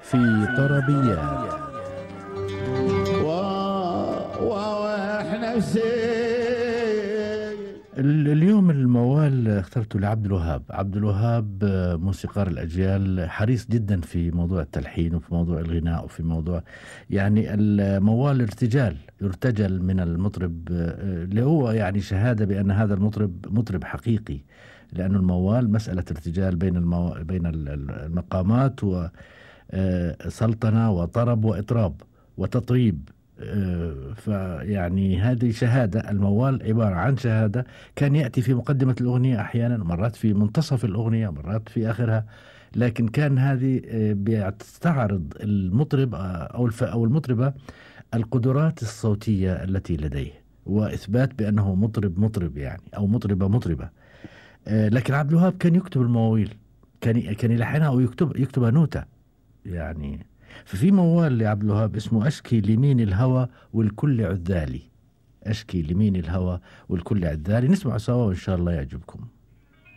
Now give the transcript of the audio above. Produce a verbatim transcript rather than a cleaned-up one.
في طربيات. واحنا اليوم الموال اخترته لعبد الوهاب. عبد الوهاب موسيقار الأجيال، حريص جدا في موضوع التلحين وفي موضوع الغناء وفي موضوع يعني الموال ارتجال، يرتجل من المطرب اللي هو يعني شهادة بأن هذا المطرب مطرب حقيقي، لأن الموال مسألة ارتجال بين المو... بين المقامات وسلطنة وطرب وإطراب وتطريب. فيعني هذه شهادة، الموال عبارة عن شهادة، كان يأتي في مقدمة الأغنية أحيانا، مرات في منتصف الأغنية، مرات في آخرها، لكن كان هذه بتستعرض المطرب أو أو المطربة القدرات الصوتية التي لديه، وإثبات بأنه مطرب مطرب يعني، أو مطربة مطربة. لكن عبد الوهاب كان يكتب المواويل، كان كان يلحنها أو يكتب يكتبها نوتة يعني. ففي موال لعبد الوهاب اسمه أشكي لمين الهوى والكل عذالي. أشكي لمين الهوى والكل عذالي، نسمع سوا وإن شاء الله يعجبكم.